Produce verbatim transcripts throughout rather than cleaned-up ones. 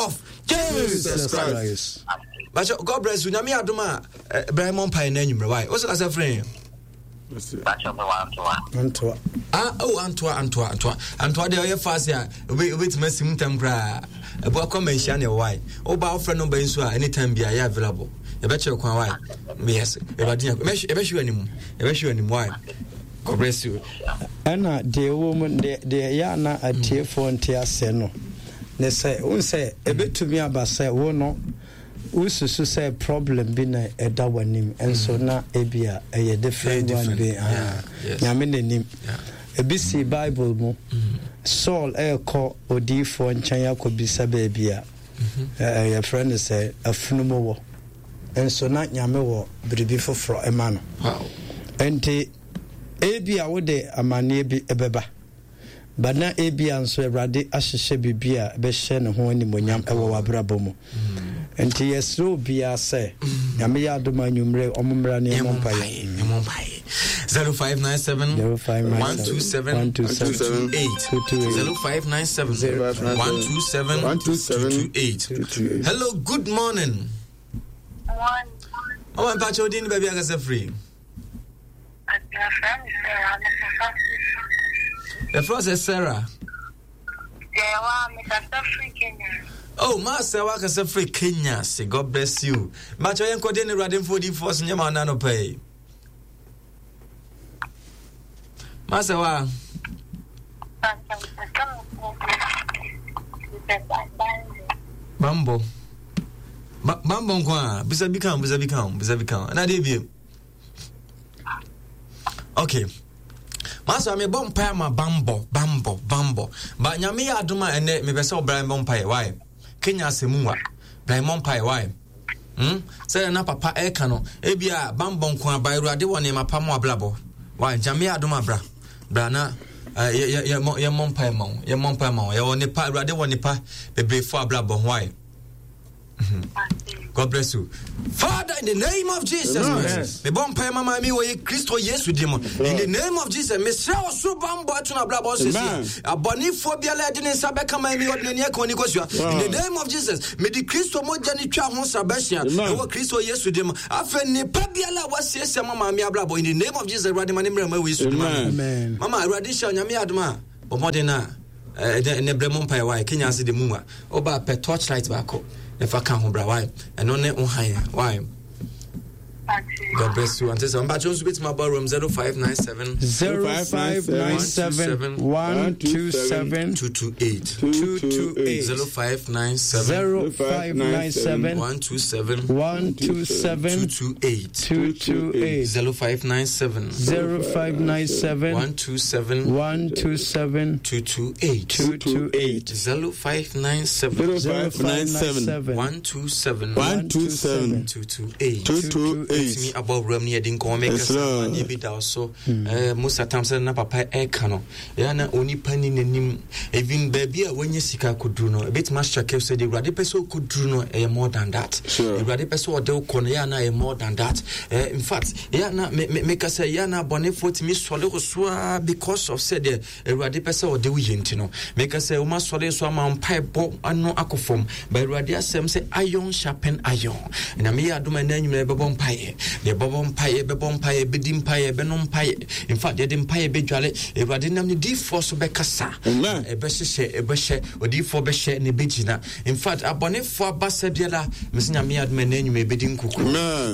of Jesus Christ. Bakyɛ, God bless you. Nyame adom a, eh, brɛ mɔ mpaeɛ no anwummerɛ wae. Wo sɛ kasɛ frɛ Antoa. Ah, oh, Antoa, Antoa, Antoa. Antoa deɛ ɔyɛ fast a, wobɛtumi asi mu ntam koraa. Ɛboa kɔ ma nhyia ne ɛwɔ Woba wofrɛ no ba nso a, anytime bi a yɛ available. Yɛbɛkyerɛ kwan wae. Yes. Ɛwurade nya. Yɛbɛhwɛ w'anim. Yɛbɛhwɛ w'anim wae. God bless you. Ɛna deɛ ɛwɔ mu deɛ deɛ ɛyɛ ana atiefoɔ nte aseɛ no ne sɛ wohu sɛ ɛbɛtumi aba sɛ wo no wosusu sɛ problem bi na ɛda w'anim nso mm. na ebia ɛyɛ different one bi ah, nyame n'anim ebi si bible mu mm. Saul ɛrekɔ odiyifoɔ nkyɛn akɔbisa baabi a mm-hmm. yɛfrɛ no sɛ afunumu wɔ nso na nyame wɔ biribi foforɔ ɛma no nti ebia wode amanneɛ bi ɛbɛba But na ebia nso Awurade ahyehyɛ biribi a ɛbɛhyɛ ne ho animuonyam wɔ w'abrabɔ mu. Nti yɛsrɛ obiara sɛ Nyame yɛ adom a anwummere ɔmo mmra ne yɛmmɔ mpaeɛ. Yɛmmɔ mpaeɛ. Zero five nine seven one two seven two two eight zero five nine seven one two seven two two eight. Hello, good morning. Morning. Mama mpakyɛ odin ne baabi akasa firi. Yɛfrɛ sɛ Sarah. Oh, ma sɛ wakasa firi Kenya se God bless you. Makyɛ yɛn kɔde ne Awurade mfo odiifoɔ so nyɛma ɔna no pɛi. Ma sɛ wa. Bambɔ. Bambɔ nko a, bisa bi ka ho, bisa bi ka ho, bisa bi ka ho. Ɛna adeɛ biem. Okay. Master, me bɔ mpae ama bambɔ, bambɔ, bambɔ. Ba nyame yɛ adom a ɛnɛ mepɛ sɛ ɔbra mbɔ mpae. Why? Kenya asɛm wa. Bra mmɔ mpae. Why? Hmm? Sɛ na papa ɛka no, ebi a bambɔ nko aba awurade wɔ nneɛma pa mu abrabɔ. Why? Nyame yɛ adom abra. Bra na eh, yɛmmɔ mpae ma wo. Yɛmmɔ mpae ma wo. Yɛwɔ nipa, awurade wɔ nipa bebree fo abrabɔ. Why? God bless you. Father, in the name of Jesus Christ, me bɔ mpae mama mi wɔ ye Kristo Yesu di mu. In the name of Jesus, me srɛ ɔsoro bambɔ ato na abrabɔ sisi. Abɔnefoɔ biara ɛde ne nsa bɛka ma mi ɔde n'ani aka oni kosua. In the name of Jesus, me de Kristo mogya ne twa ho sra bɛhyia. Ɛwɔ Kristo Yesu di mu. Afei nipa biara a wasiesie ma maame abrabɔ in the name of Jesus, Awurade ma ne mmerɛ ma wɔ Yesu di mu. Mama, Awurade hyɛ onyame adom a bɔ mmɔden a ɛnɛ ɛnɛ brɛ mo mpaeɛ wae kenya ase de mu a woba pɛ torch light baako na fa ka ho bra wae ɛno ne wo han wae God bless you. Ante sɛ mpakyɛ nso bɛtumi abɔ room zero five nine seven zero five nine seven one two seven two two eight two two eight zero five nine seven zero five nine seven one two seven one two seven two two eight two two eight zero five nine seven zero five nine seven one two seven one two seven two two eight two two eight zero five nine seven zero five nine seven one two seven one two seven two two eight two two eight. Tumi abɔ wuram ne yɛde nkɔmmɔ mɛka sɛ amanneɛ bi da so eh, Musa tam sɛ na papa ɛka no ɛyɛ na onipa ni n'anim even baabi a wanya sika akɔduru no ɛbɛtumi ahyɛkɛ sɛ deɛ awurade pɛ sɛ ɔkɔduru no ɛyɛ more than that awurade pɛ sɛ ɔde wokɔ no ɛyɛ na ɛyɛ more than that eh, in fact ɛyɛ na meka sɛ ɛyɛ na abɔnefoɔ tumi sɔre wo so a because of sɛ deɛ Awurade pɛ sɛ ɔde wo yɛ nti no, meka sɛ woma sɔre so ama mpaebɔ ano akɔ fam. Ba Awurade asɛm sɛ iron sharpen iron. Na meyɛ adom a ɛnɛ anwummerɛ bɛbɔ mpaeɛ. Yɛbɛbɔ mpaeɛ, bɛbɔ mpaeɛ, bɛdi mpaeɛ, bɛnom mpaeɛ. In fact, yɛde mpaeɛ bɛdwale. Awurade nam ne diifoɔ so bɛkasa. Ɛbɛhyehyɛ, ɛbɛhyɛ, odiifoɔ bɛhyɛ na ɛbɛgyina. In fact, abɔnefoɔ aba sɛ biara, mese Nyame adom ɛnɛ anwummerɛ ɛbɛdi nkuku.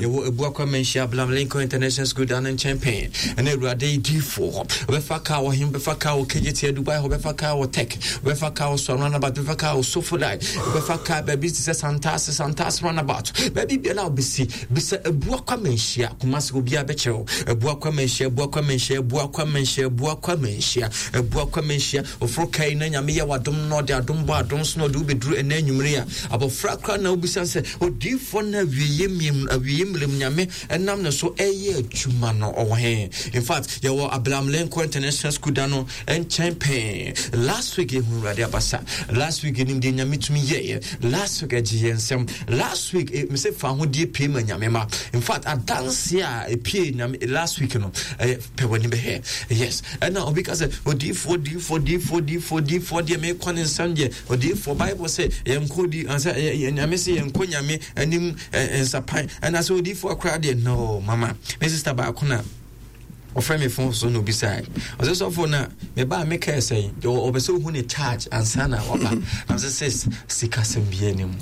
Yɛwɔ Abuakwa Manhyia Abraham Lincoln International School da no nkyɛn pɛn. Ɛna Awurade diifoɔ ɔbɛfa kaa wɔ he, ɔbɛfa kaa wɔ K J T Dubai hɔ, ɔbɛfa kaa wɔ Tech, ɔbɛfa kaa wɔ Swan Runabout, ɔbɛfa kaa wɔ Sofolai, ɔbɛfa kaa baabi te sɛ Santase, Santase Runabout, baabi biara a ɔbɛsi, bisa Abuakwa Manhyia, Kumasi obiara bɛkyerɛ wo. Abuakwa Manhyia, Abuakwa Manhyia, Abuakwa Manhyia, Abuakwa Manhyia, Abuakwa Manhyia. Ɔforo kai na Nyame yɛ w'adom na ɔde adom bɔ adom so na ɔde wobɛduru ɛnɛ anwummere a abɔfra koraa na wobisa sɛ odiyifoɔ no awieɛ mmiam awieɛ mmerɛ mu Nyame ɛnam ne so ɛyɛ adwuma no ɔwɔ he. In fact, yɛwɔ Abraham Lincoln International School da no nkyɛn pɛn. Last week yɛhu Awurade abasa. Last week yɛnim deɛ Nyame tumi yɛeɛ. Last week ɛgye yɛn nsɛm. Last week eh, mesɛ fa ahodie pie ma Nyame ma. In fact, fact, adanse a epie Nyame last week no, ɛyɛ pɛ w'ani bɛhwɛ. Yes, ɛna obi ka sɛ odiifoɔ, odiifoɔ, odiifoɔ, odiifoɔ, odiifoɔ deɛ mekɔ ne nsɛm deɛ odiifoɔ. Bible sɛ yɛnkɔ di ansɛ Nyame sɛ yɛnkɔ Nyame anim nsapan, ɛna sɛ odiifoɔ koraa deɛ no. Mama me sister baako na ɔfrɛ me phone so na obisae, ɔsɛ sɔfo na meba a mekae sɛ ɔbɛ sɛ ohu ne charge ansa na waba. Na sɛ sɛ sikasɛm biara anim,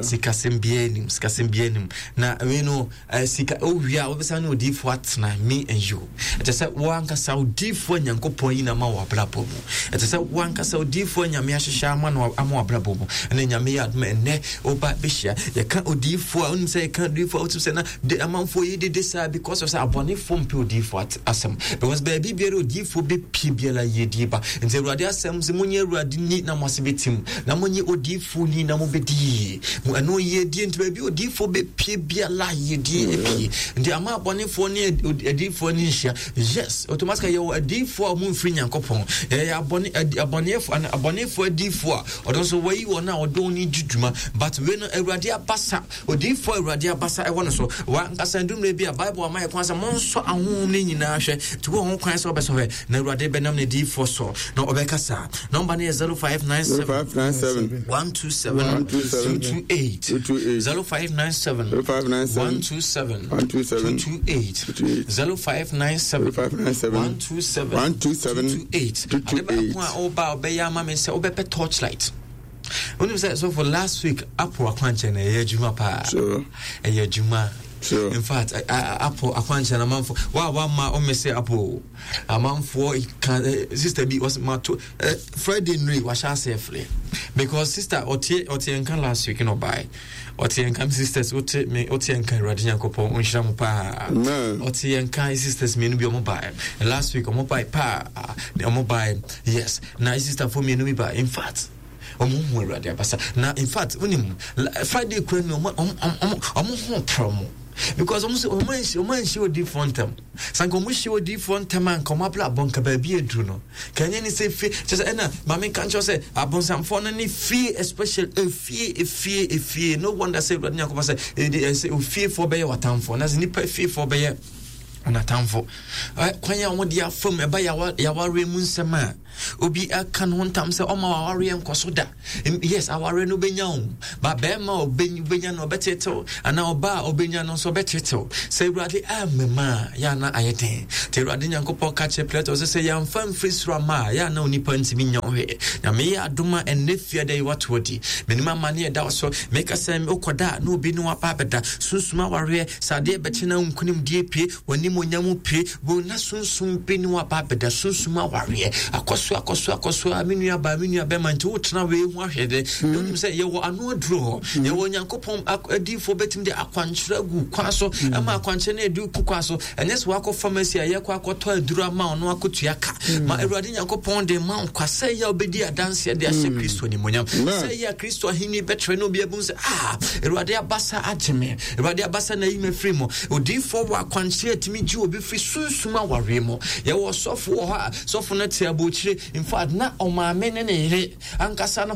sikasɛm biara anim, sikasɛm biara anim. Na wei no, sika owie a wobɛsa ne odiifoɔ atena, me and you. Ɛkyɛ sɛ woankasa odiifoɔ Nyankopɔn yi na ma wɔ abrabɔ mu. Ɛkyɛ sɛ woankasa odiifoɔ Nyame ahyehyɛ ama no ama wɔ abrabɔ mu. Ɛna Nyame yɛ adom, ɛnnɛ woba bɛhyia. Yɛka odiifoɔ a, wonim sɛ yɛka odiifoɔ a, wotim sɛ na de amanfoɔ yi dede saa because of sɛ abɔnefoɔ mpɛ odiifoɔ asɛm, because baabi biara odiifoɔ bɛpie biara yɛdie ba. Nti Awurade asɛm sɛ monyɛ Awurade ni na mo ase bɛtim, na monyɛ odiifoɔ ni na mobɛdi yie. Mo ɛno yɛdie. Nti baabi odiifoɔ bɛpie biara yɛdie pie. Nti ama abɔnefoɔ ne adiifoɔ ne nhyia. Yes, automatically yɛwɔ adiifoɔ a ɔmo mfiri Nyankopɔn. Yɛyɛ abɔne abɔneɛfoɔ, abɔnefoɔ adiifoɔ a ɔno nso wɔyi wɔn a ɔdɔn ne di dwuma. But wei no, Awurade abasa, odiifoɔ Awurade abasa ɛwɔ no so. Wankasa ndumire bi a Bible ama yɛ kwan sɛ monsɔ ahohom no nyinaa hwɛ. Nti wɔ ho kwan sɛ wɔbɛsɔ hwɛ, na Awurade bɛnam ne diifoɔ so na ɔbɛkasa. Number no yɛ zero five nine seven zero five nine seven one two seven two two eight, zero five nine seven one two seven two two eight, zero five nine seven one two seven two two eight. Ade baako a ɔba a ɔbɛyɛ ama me sɛ wobɛpɛ torchlight. Wonim sɛ, so for last week Apple akwankyɛn na ɛyɛ adwuma paa, ɛyɛ adwuma. In fact, Apple akwankyɛn amanfo wa wama ɔmɛ sɛ Apple amanfoɔ ka. Sister bi ɔsɛ mato Friday nuri wahyɛ ase ɛfrɛ because sister ɔte ɔte nka last week na ɔbae ɔte nka. Sisters, wote me, wote nka. Awurade Nyankopɔn ɔnhyira mo paa. Ɔte nka. Sisters mmienu bi ɔmo bae last week, ɔmo bae paa, ɔmo bae. Yes, na sister fo mmienu bi bae. In fact, ɔmo hu Awurade abasa. Na in fact, wonim Friday kura ni ɔmo ɔmo ɔmo ɔmo ho pɔrɔ mo because ɔmo sɛ ɔmo anhyia ɔmo anhyia odiifoɔ ntɛm. Sanka ɔmo hyia odiifoɔ ntɛm a, nka ɔmo abla abɔ nka baabi aduru no ka ɛnyɛ ne sɛ fie kyerɛ sɛ. Ɛna maame nka nkyɛw sɛ abonsamfoɔ no ne fie, especially efie, efie, efie. No wonder sɛ Awurade Nyankopɔn sɛ ɛde ɛsɛ ofiefoɔ bɛyɛ w'atamfoɔ, na sɛ nipa fiefoɔ bɛyɛ ɔnatamfo. Kwan a wɔde afam ɛba yawareɛ mu nsɛm a obi aka no ho ntam sɛ ɔma awareɛ nkɔ so da. Yes, awareɛ no wobɛnya o, ba bɛrima a wobɛnya no ɔbɛtetew, anaa ɔba a ɔbɛnya no nso ɔbɛtetew. Sɛ Awurade amema a, yɛ ana ayɛ den. Nti Awurade Nyankopɔn ka kyerɛ Pilato sɛ sɛ yɛamfa mfiri soro ama a, yɛ ana onipa ntumi nya wo hwee. Nyame yɛ adom a, ɛnnɛ fiada yi wato adi. Menim amane ɛda wo so. Meka sɛ wokɔda a na obi ne waba abɛda sunsum awareɛ sɛ adeɛ bɛkye na nkonimdie pie w'anim onyam pie wo na sunsum bi ne waba abɛda sunsum awareɛ akɔso akɔso akɔso a. Me nua baa, me nua bɛma, nti wotena wei ho ahwɛ dɛ na wonim sɛ yɛwɔ ano aduro hɔ. Yɛwɔ Onyankopɔn adiyifoɔ bɛtumi de akwankyerɛ agu kwan so ɛma akwankyerɛ no adu ku kwan so. Ɛnyɛ sɛ wakɔ pharmacy a yɛkɔ akɔtɔ aduro ama ɔno akɔtua ka ma Awurade Nyankopɔn de ma nkwa sɛ yɛ a wobɛdi adanseɛ de ahyɛ Kristo animonyam, sɛ yɛ a Kristo ahenni bɛtrɛ na obi abu sɛ, ah, Awurade abasa agye me, Awurade abasa na ayi me afiri mu. Odiyifoɔ wɔ akwankyerɛ atumi gye obi firi sunsum awareɛ mu. Yɛwɔ sɔfo wɔ hɔ a sɔfo no te abɔkyire. In fact, na ɔmaame ne ne yere ankasa no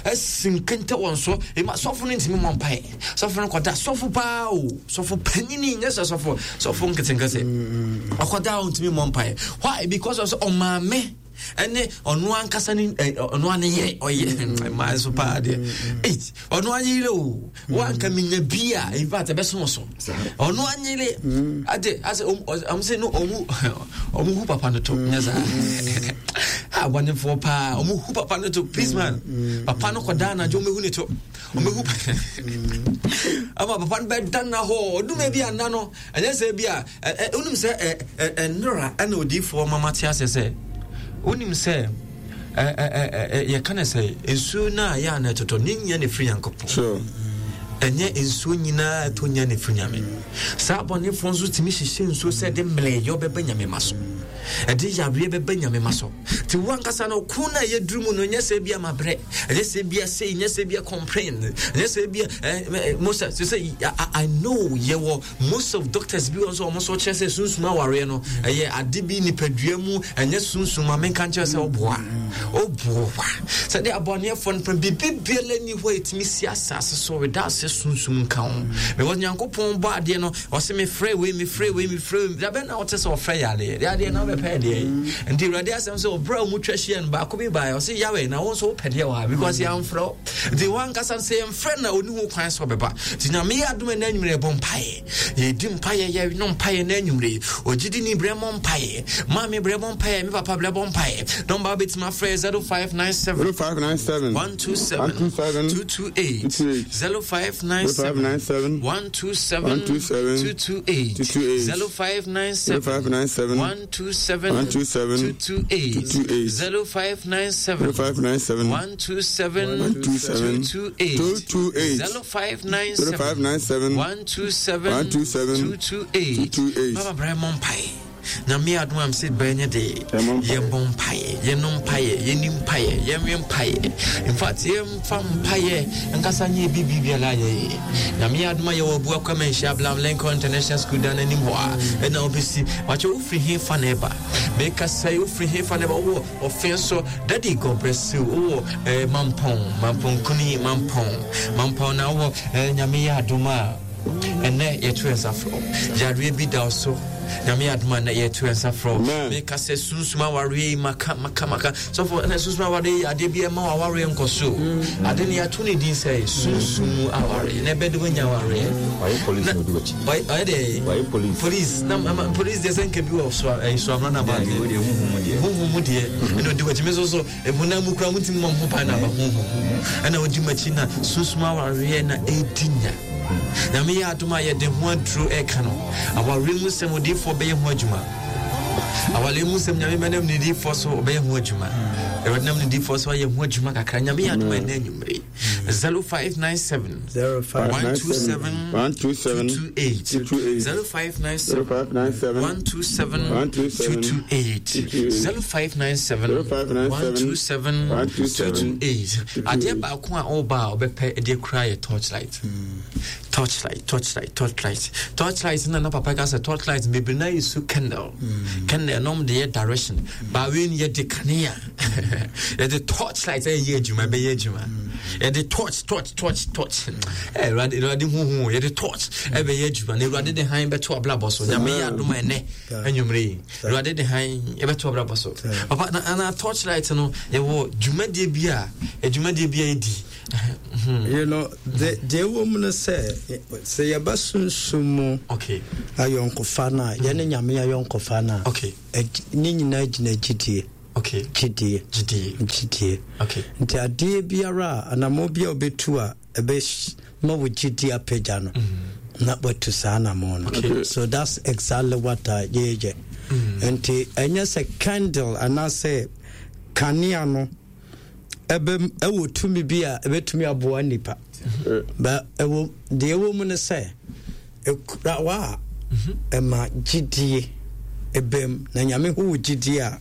asi nkente wɔn so ɛma sɔfo no ntumi mmɔ mpae. Sɔfo no kɔda, sɔfo paa o, sɔfo panyini, nyɛ sɛ sɔfo sɔfo nketenkete, ɔkɔda a ɔntumi mmɔ mpae. Why? Because of sɛ ɔmaame ɛne ɔno ankasa ne ɔno ane yere ɔyɛ mmaa nso paa deɛ, ɔno anyere o, wanka menya bi a, in fact ɛbɛso so ɔno anyere ade asɛ ɔmo sɛ no ɔmo ɔmo hu papa no to nyɛ saa abɔnefoɔ paa. Ɔmo hu papa no to, please man, papa no kɔda anadwo, ɔmo hu ne to, ɔmo hu ama papa no bɛda na hɔ ɔdum bi ana no. Ɛnyɛ sɛ bi a wonim sɛ ɛnora ɛna odiifoɔ mama te asɛ sɛ wonim sɛ yɛka no sɛ nsuo no a yɛ a na ɛtotɔ ne nyɛ ne firi Nyankopɔn. Ɛnyɛ nsuo nyinaa ɛtɔ nya ne firi Nyame. Saa abɔnefoɔ nso tumi hyehyɛ nsuo sɛ de mmerɛyɛ bɛbɛ Nyame ma so. Ɛde yareɛ bɛba Nyame ma so. Nti wo ankasa no ko no a yɛduru mu no, nyɛ sɛ bia mabrɛ, ɛnyɛ sɛ bia sei, nyɛ sɛ bia complain, ɛnyɛ sɛ bia eh, most sɛ sɛ I know yɛwɔ most of doctors bi wɔ nso wɔn nso kyerɛ sɛ sunsum awareɛ no ɛyɛ ade bi nipadua mu, ɛnyɛ sunsum ma menka nkyerɛ sɛ ɔboa ɔboa sɛdeɛ abɔneɛfoɔ no pɛn biribi biara ni hɔ a ɛtumi si asase so without sɛ sunsum nka ho, because Nyankopɔn bɔ adeɛ no, ɔsɛ mefrɛ wei, mefrɛ wei, mefrɛ wei. Dabɛ na ɔte sɛ ɔfrɛ yareɛ deɛ adeɛ na wobɛpɛ deɛ yi. Nti Awurade asɛm sɛ ɔberɛ a ɔmu twa hyia no baako bi baeɛ, ɔsɛ Yahweh, na wo nso wopɛ deɛ wɔ ha because yɛamfrɛ wo. Nti wankasa sɛ yɛmfrɛ na ɔni ho kwan sɛ ɔbɛba. Nti Nyame yɛ adom ɛna anwummerɛ yɛbɔ mpaeɛ, yɛdi mpaeɛ, yɛno mpaeɛ na anwummerɛ ɔgyidi ni brɛ mɔ mpaeɛ, maame brɛ mɔ mpaeɛ, me papa brɛ bɔ mpaeɛ. Nɔmba wobɛtumi afrɛ zero five nine seven zero five nine seven one two seven one two seven two two eight zero five nine seven zero five nine seven one two seven one two seven two two eight two two eight zero five nine seven zero five nine seven one two seven one two seven two two eight two two eight zero five nine seven zero five nine seven one two seven one two seven two two eight two two eight zero five nine seven zero five nine seven one two seven one two seven two two eight two two eight. Mama brɛ mɔ mpaeɛ. Nyame adom am sɛ bɛnyɛ de Yɛmmɔ mpaeɛ. Yɛmmɔ mpaeɛ, yɛno mpaeɛ, yɛni mpaeɛ, yɛnwe mpaeɛ. In fact, yɛmfa mpaeɛ nkasa nyɛ bibi biara yɛyɛ. Nyame adom a yɛwɔ Abuakwa Manhyia Abraham Lincoln International School dan anim hɔ a ɛna wobɛsi wakyɛ. Wofiri he fa na ɛba? Meka sɛ wofiri he fa na ɛba? Wowɔ ɔfe so, Daddy, God bless you. Wowɔ eh, Mampɔn, Mampɔnkuni, Mampɔn, Mampɔn na wowɔ eh, Nyame yɛ adom a ɛnɛ yɛto yɛn nsa frɛ. Yareɛ bi da wo so, Nyame yɛ adom a ɛnɛ yɛto yɛn nsa frɛ. Amen. Meka sɛ sunsum awareɛ yi, maka maka maka sɔfo, ɛnɛ sunsum awareɛ yi adeɛ bi ɛma awareɛ nkɔ so. Ade no yɛato ne din sɛ sunsum mu awareɛ na ɛbɛde woanya awareɛ. Wayɛ police na odi w'akyi. Ɔyɛ ɔyɛ deɛ Wayɛ police. Police na ama police deɛ sɛ nka bi wɔ so ɛyi so amuna na ba Deɛ deɛ huhu mu deɛ. Huhu mu deɛ ɛna odi w'akyi. Mi nso so ehunam mu kura mu ti mu ho ban na aba huhu mu ɛna odi m'akyi na sunsum awareɛ na edi nya. Nyame yɛ adom a yɛde ho aduro ɛka no awareɛ mu nsɛm, odiifoɔ bɛyɛ ho adwuma. Awareɛ mu nsɛm, Nyame bɛnam ne diifoɔ so ɔbɛyɛ ho adwuma. Awurade nam ne diifoɔ so ayɛ ho adwuma kakra. Nyame yɛ adom a ɛnɛ anwummere zero five nine seven zero five one two seven one two seven two two eight two two eight zero five nine seven zero five nine seven one two seven one two seven two two eight zero five nine seven zero five nine seven one two seven one two seven two two eight. Adeɛ baako a ɔba a ɔbɛpɛ de kura yɛ torchlight, torchlight, torchlight, torchlight, torchlight. Na na papa ka sɛ torchlight bebree na yɛ su candle, candle nom de yɛ direction baawei no yɛde kanea, yɛde torchlight ɛyɛ adwuma, ɛbɛyɛ adwuma. Yɛde torch, torch, torch, torch. Ɛ Awurade, Awurade huhu, yɛde torch ɛbɛyɛ adwuma na Awurade de han bɛto abrabɔ so. Nyame yɛ adom a ɛnɛ anwummere yi Awurade de han ɛbɛto abrabɔ so. Papa, na na torchlight no yɛwɔ dwumadie bi a dwumadie bi a yɛdi. you know de deɛ ɛwɔ mu no sɛ sɛ yɛba sunsum mu okay ayɔnkofa no a, yɛne Nyame ayɔnkofa no a, okay ɛgy- ne nyinaa gyina gyidie. Okay gyidie. Gyidie. Gyidie. Okay nti adeɛ biara a anammɔ bi a wobɛtu a ɛbɛma wo gyidie apagya no na watu saa anammɔ no. Okay. So that's exactly what a yɛyɛ. Nti ɛnyɛ sɛ candle anaasɛ kanea no ɛbɛ ɛwɔ tumi bi a ɛbɛtumi aboa nipa ba. Ɛwɔ deɛ ɛwɔ mu no sɛ ɛkura wa a ɛma gyidie ɛbɛm na Nyame hu wo gyidie a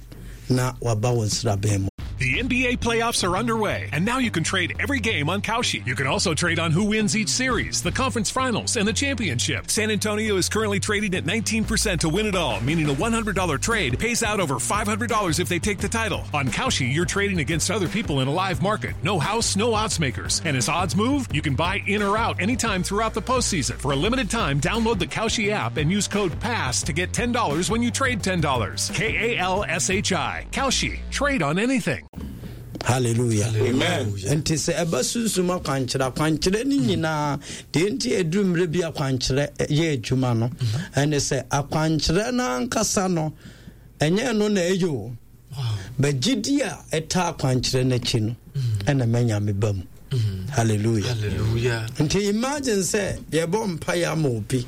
na waba wo nsraban mu. The N B A playoffs are underway, and now you can trade every game on Kalshi. You can also trade on who wins each series, the conference finals, and the championship. San Antonio is currently trading at nineteen percent to win it all, meaning a one hundred dollar trade pays out over five hundred dollars if they take the title. On Kalshi, you're trading against other people in a live market. No house, no odds makers. And as odds move, you can buy in or out anytime throughout the postseason. For a limited time, download the Kalshi app and use code PASS to get ten dollars when you trade ten dollars. K A L S H I. Kalshi. Trade on anything. Hallelujah. Amen. Nti sɛ ɛba sunsum akwankyerɛ, akwankyerɛ no nyinaa deɛ nti ɛduru mmerɛ bi akwankyerɛ yɛ adwuma no ɛne sɛ akwankyerɛ no ankasa no ɛnyɛ no na ɛyɛ o bɛgyidi a ɛta akwankyerɛ no akyi no ɛna manya me ba mu. Hallelujah. Hallelujah. Nti imagine sɛ yɛbɔ mpaeɛ ama obi,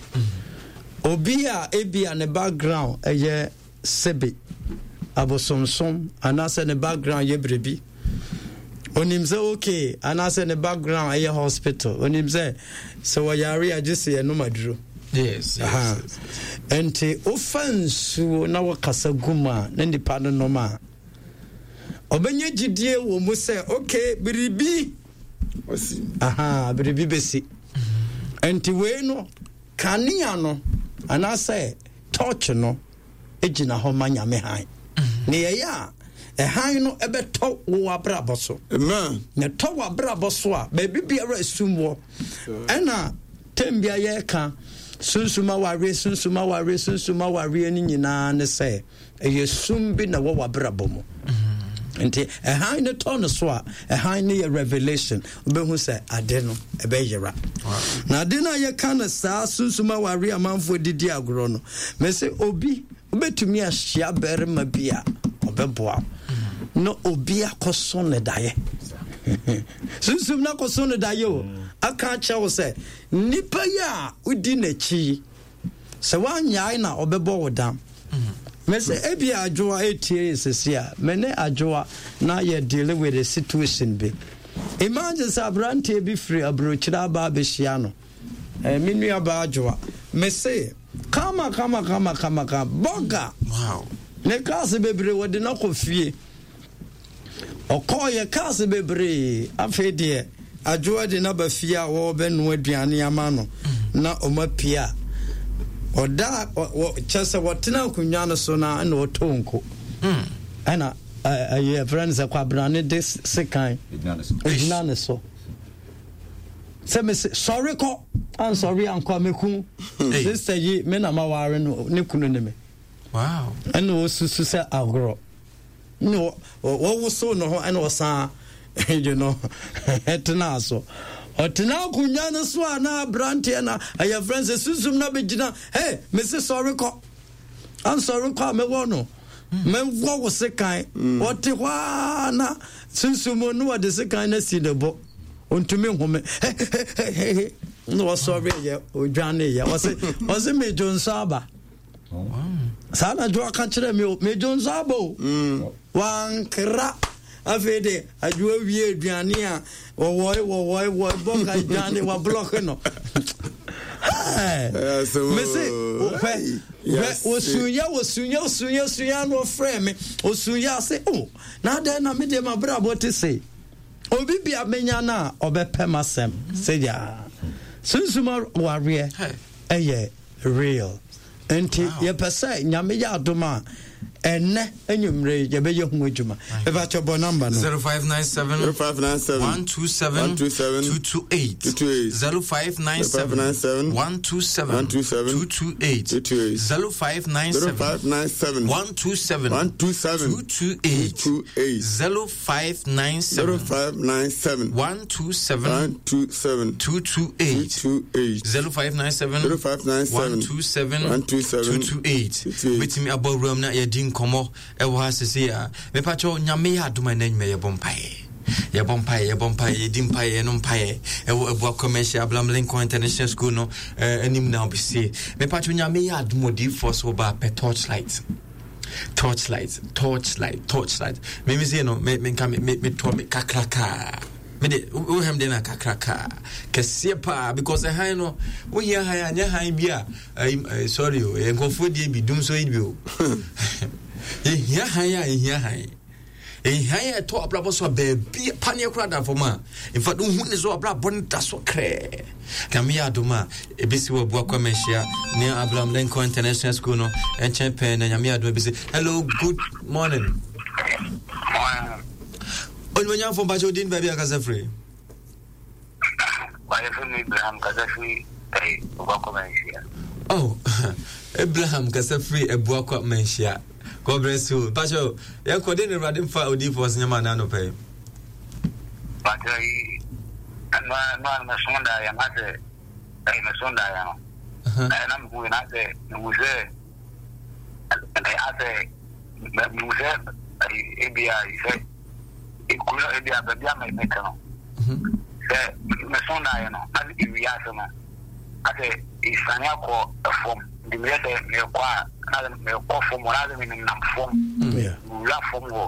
obi a ebia ne background ɛyɛ sebe abosomsom anaasɛ ne background yɛ biribi, onim sɛ okay, anaasɛ ne background ɛyɛ hospital, onim sɛ sɛ wɔyare a gye sɛ yɛnom aduro. Yes, yes, Aha. yes. Nti wofa nsuo na wɔkasa gu mu a na nipa no nom a ɔbɛnya gyidie wɔ mu sɛ okay biribi Ɔsi. aha biribi bɛsi nti wei no kanea no anaasɛ torch no gyina hɔ ma nyame han ne yɛyɛ a ɛhan no ɛbɛtɔ wo abrabɔ so Amen. na ɛtɔ w'abrabɔ so a baabi biara esum wɔ ɛna tem bia yɛreka sunsum awareɛ sunsum awareɛ sunsum awareɛ no nyinaa ne sɛ ɛyɛ sum bi na ɛwɔ w'abrabɔ mu nti ɛhan no tɔ no so a ɛhan no yɛ revelation wobɛhu sɛ ade no ɛbɛyera na ade no a yɛka no saa sunsum awareɛ amanfoɔ didi agorɔ no mɛsɛ obi wobɛtumi ahyia barima bi a ɔbɛboa wo na obi akɔso ne daeɛ sunsum no akɔso no daeɛ o aka akyerɛ wo sɛ nnipa yi a wodi n'akyi yi sɛ woanyae na ɔbɛbɔ wo dam mɛsɛ ebi adwoa etie yɛ sisi a me ne adwoa na yɛ deal with a situation bi imagine sɛ aberanteɛ bi firi aburokyire aba abɛhyia no eh, me nua baa adwoa mese kama kama kama kama kama bɔga Wow. ne cars bebree wɔde no akɔ fie ɔkɔɔyɛ cars bebree afei deɛ adwoa de no aba fie a wɔrebɛnoa aduane ama no na ɔma pie a ɔda ɔ- wɔ- kyɛ sɛ wɔtena akonnwa no so na ɛna ɔtɔ nko ɛna ɛ- ɛyɛ frɛ no sɛ kwabrane de sekan Egyina ne so. ɛgyina ne so sɛ mese sɔre kɔ ansɔre ankɔ a mɛku sister yi me na maware no ne kunu ne me Wow. ɛna ɔsusu sɛ agorɔ na ɔ- ɔ- wɔwosow ne ho ɛna ɔsan you know ɛtena so ɔtena akonnwa no so a na aberanteɛ na ɛyɛ frɛ sɛ sunsum na bɛgyina hey mese sɔre kɔ ansɔre kɔ a mɛwɔ no mɛwɔ wo sekan ɔte hɔ a na sunsum no wɔde sekan no asi ne bo ɔntumi nhome na ɔsɔre yɛ ɔdwane yɛ ɔse ɔse medwo nso aba saa na dwo aka kyerɛ me o medwo nso aba o wankra afei de adwoa wie aduane a wɔwɔe wɔwɔe wɔe bɔka aduane wablɔke no Ɛyɛ asɛm o. mese hwɛ hwɛ osuyɛ osuyɛ osuyɛ osuyɛ na ɔfrɛ me osuyɛ ase o na adɛn na me deɛ mabrabɔ te se obi bia menya no a ɔbɛpɛ m'asɛm sɛ gyaa sunsum wareɛ ɛyɛ real nti yɛpɛ sɛ nyame yɛ adom a ɛnɛ anwummerɛ yi yɛbɛyɛ ho adwuma ɛbɛkyɛ bɔ number no Zero five nine seven Zero five nine seven one two seven one two seven two two eight two two eight zero five nine Zero five nine seven seven one two seven one two seven two two eight two two eight zero five nine Zero seven five nine seven one two seven one two seven two two eight two eight zero five nine Zero seven five nine seven one two seven one two seven two two two eight two eight zero five nine seven Zero five nine seven one two seven one two seven two two eight two two eight. wetumi abɔ wuram na yɛdi nkɔmmɔ ɛwɔ ha sese a mepakyɛw nyame yɛ adom a ɛnɛ nnwuma yɛbɔ mpaeɛ yɛbɔ mpaeɛ yɛbɔ mpaeɛ yɛdi mpaeɛ yɛno mpaeɛ ɛwɔ abua commercial abraham lincoln international school no eh, anim na wobɛsie mepakyɛw nyame yɛ adom odiyifoɔ so woba pɛ torchlight torchlight torchlight torchlight mimi sei no me menka me me metɔ me kakrakaa me de wohɛm de na kakrakaa kɛseɛ paa because ɛhan no wohia han a nyɛ han bi a ɛyi ɛyi sorry o ɛyɛ nkurɔfoɔ die bi dum so yi bi o yɛhia han a yɛhia han ɛhia yɛ ɛtɔ abrabɔ so a baabi paneɛ koraa da fam a in fact wohu ne so abrabɔ no da so krɛɛ nyame yɛ adom a ɛbɛsi wɔ abua kwa manhyia ne abraham lincoln international school no ɛnkyɛn pɛɛ na nyame yɛ adom a ɛbɛsi hello good morning onimonyamfo mpakyɛ wodin baabi akasa firi Abraham kasa firi Abuakwa Manhyia. Oh, Abraham kasa firi Abuakwa Manhyia. God bless you. Mpakyɛ yɛnkɔ de ne Awurade mfa odiyifoɔ so nyɛma anaa anɔpa yi. Mpakyɛ yi ɛnua ɛnua no mɛso da yɛ na sɛ ɛyɛ mɛso da yɛ no. Ɛyɛ na mehu na sɛ mehu sɛ ɛyɛ asɛ mehu sɛ ebi a sɛ ekuro ebi a baabi a mɛka no. Sɛ mɛso da yɛ no na ewia ase no asɛ esane akɔ ɛfam nti meyɛ sɛ mekɔ a na mekɔ fam hɔ na asɛ menenam fam wura fam hɔ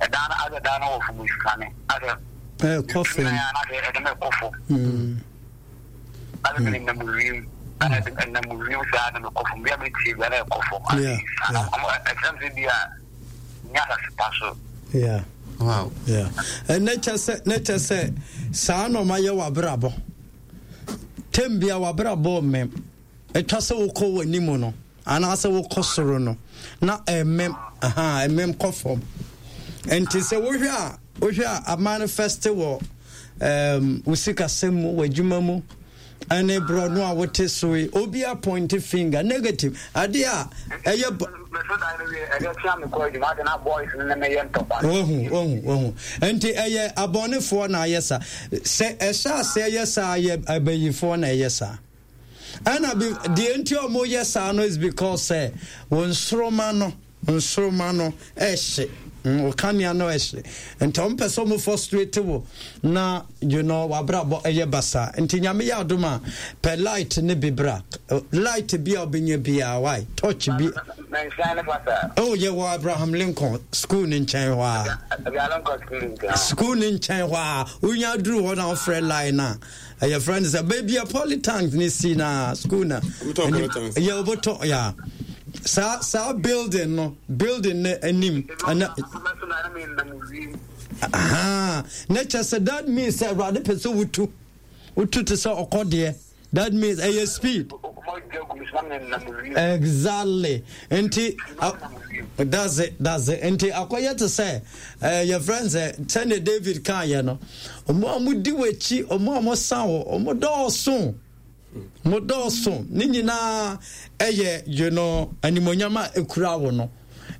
ɛdan no asɛ dan no wɔ fam esane asɛ ɛkɔ fam na asɛ ɛde mekɔ fam asɛ menenam wiem Ɛnam wiem saa na mekɔ fam bia metie bia na ɛkɔ fam. Ɛkyerɛ sɛ bi a nyɛ asase pa so. Yeah. Wow. Yeah. Ɛnɛ kyɛ sɛ ne kyɛ sɛ saa na ɔma yɛ w'abrabɔ. Tem bia w'abrabɔ mmɛm. Ɛtwa sɛ wokɔ w'anim no anaasɛ wokɔ soro no na ɛmmɛm aha ɛmmɛm kɔ fam. Nti sɛ wohwɛ a wohwɛ a amanifest wɔ um, wo sikasɛm mu w'adwuma mu ɛne borɔno a wote so yi obi appoint finger negative adeɛ a ɛyɛ bɔ wahu wahu wahu nti ɛyɛ abɔnefoɔ na ayɛ saa sɛ ɛhyɛ aseɛ yɛ saa yɛ abayifoɔ na ɛyɛ saa ɛna bi deɛ nti a wɔyɛ saa no is because sɛ wɔn nsoroma no nsoroma no ɛhye wo kanea no ɛhye nti wɔn pɛ sɛ wɔn frustrate wo na you know wabrabɔ ɛyɛ basa nti Nyame yɛ adom a pɛ light ne bi bra light bi a ɔbɛnya biara why torch bi oh yɛ wɔ Abraham Lincoln school ne nkyɛn hɔ a school ne nkyɛn hɔ a wonya duru hɔ na wofrɛ line a ɛyɛ frɛ no sɛ baabi a polytank ne si na school na yɛ wobɛtɔ ya saa saa building no building no anim ɛna aha na kyɛ sɛ that means sɛ Awurade pɛ sɛ wotu wotu te sɛ ɔkɔdeɛ. That means ɛyɛ speed. Exactly. Nti uh, that's it that's it. Nti akɔyɛ te sɛ ɛɛ yɛ friend sɛ sɛnea David kan yɛ no ɔmo a ɔmo di w'akyi ɔmo a ɔmo san wɔ ɔmo dɔɔso mo dɔɔso ne nyinaa ɛyɛ you know animonyam a ekura wo no.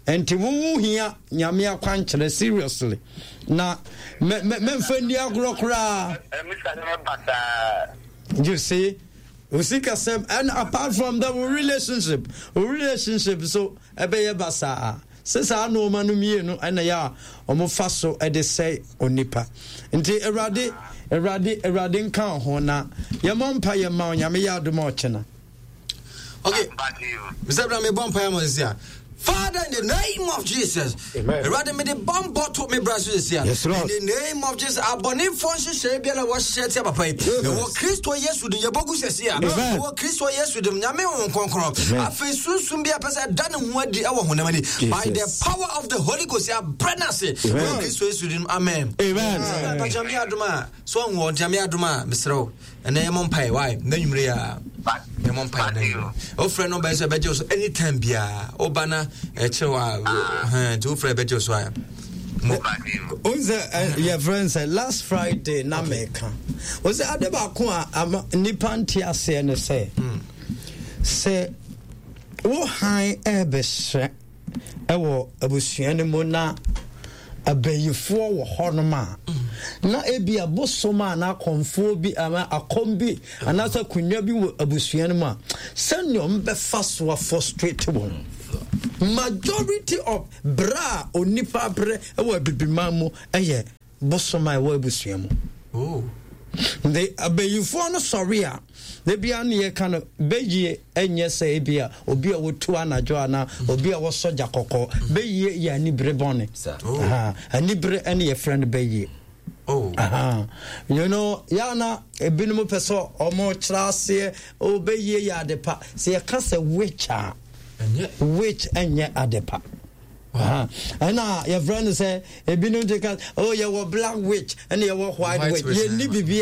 Nti wo ho hia Nyame akwankyerɛ seriously na mɛ mɛ mɛnfa nni agorɔ koraa. You see, osikasɛm and apart from that wo relationship wo relationship so ɛbɛyɛ basaa sɛ saa nneɛma no mmienu ɛna yɛ a wɔfa so ɛde sɛe onipa nti Awurade Awurade Awurade nka ho na yɛmmɔ mpa yɛ ma Onyame yɛ adom a ɔkyena. Okay. Mister Abraham, me bɔ mpaeɛ ma sisi a. Father, in the name of Jesus. Awurade me de bambɔ to me bra so sisi a. Yes, Lord. In the name of Jesus, abɔnefoɔ nhyehyɛe biara wɔhyehyɛ tia papa yi. Ɛwɔ Kristo Yesu din yɛbɔ gu sisi a. Ɛwɔ Kristo Yesu din Nyame Honhom Kronkron. Afei sunsum bi a pɛ sɛ ɛda ne ho adi ɛwɔ honam ani. By the power of the Holy Ghost, yɛabrɛ no ase. Ɛwɔ Kristo Yesu din amen. Amen. Papa Nyame adom a, so ahu ɔ Nyame adom a, mesrɛ wo. Ɛnɛ yɛmmɔ mpaeɛ why na nwumere a yɛmmɔ mpaeɛ na nwumere wofrɛ no bɛyɛ sɛ ɛbɛgye wo so anytime biara woba na ɛkyerɛ wo a nti wofrɛ ɛbɛgye wo so a wohu sɛ yɛfrɛ no sɛ last Friday na meka wo sɛ ade baako a ama nnipa nte aseɛ ne sɛ sɛ wo han ɛbɛhyɛ wɔ abusua no mu na abayifoɔ wɔ hɔnom a, na ebi abosom a na akɔmfoɔ bi anaa akɔm bi anaasɛ akonnwa bi wɔ abusua no mu a, sɛnea wɔbɛfa so afɔstrate wɔn. Majority of berɛ a onipa brɛ wɔ abibiman mu yɛ bosom a ɛwɔ abusua mu. Oh. Nti abayifoɔ no sɔre a, da biara ne yɛka no, bɛyie ɛnyɛ sɛ ebi a obi a wɔtu anadwo anaa obi a wɔsɔ gya kɔkɔɔ. Bɛyie yɛ anibere bɔne. Oh. Anibere ɛne yɛfrɛ no bɛyie. Oh. Aha. You know, yana ebinom pɛ sɛ ɔmo kyerɛ aseɛ, oh, bɛyie yɛ ade pa. Sɛ yɛka sɛ witch a, witch ɛnyɛ ade pa. Ɛna yɛfrɛ no sɛ ebinom te ka, oh, yɛwɔ black witch ɛna yɛwɔ white witch. Yɛnni biribi